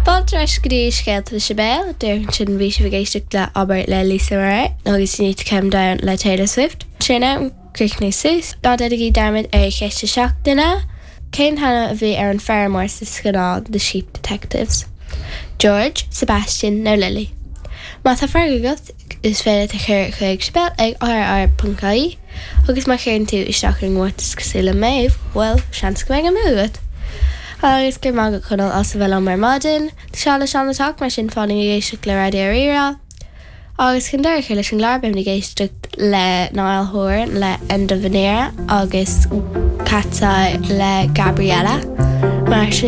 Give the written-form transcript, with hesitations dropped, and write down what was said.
Fáilte ar ais go dtí Scéalta le Sibéal. Díreach ansin bhí sibh ag éisteacht le Abair le Lisa Marie agus You Need to Calm Down le Taylor Swift. Sin am críochnú suas. Ná déanaigí dearmad ar cheist na seachtaine. Cén t-ainm a bhí ar an feirmeoir sa scannán The Sheep Detectives? George, Sebastian nó Lily? Má tá freagra agat, is féidir leat a chur chuig sibéal ag rr.ie agus má chuireann tú isteach ar an gcomórtas cosúil le Méabh, bhuel, seans go mbeidh an bua agat! Agus go raibh maith agat Conall as a bheith liom ar maidin. Tá sé le Seán le teacht, mar sin fan ag éisteacht le Raidió Rí-Rá. Agus chun deireadh a chur leis an gclár, beimid ag éisteacht le Niall Horan le End of an Era agus Cat's Eye le Gabriella. Mar sin.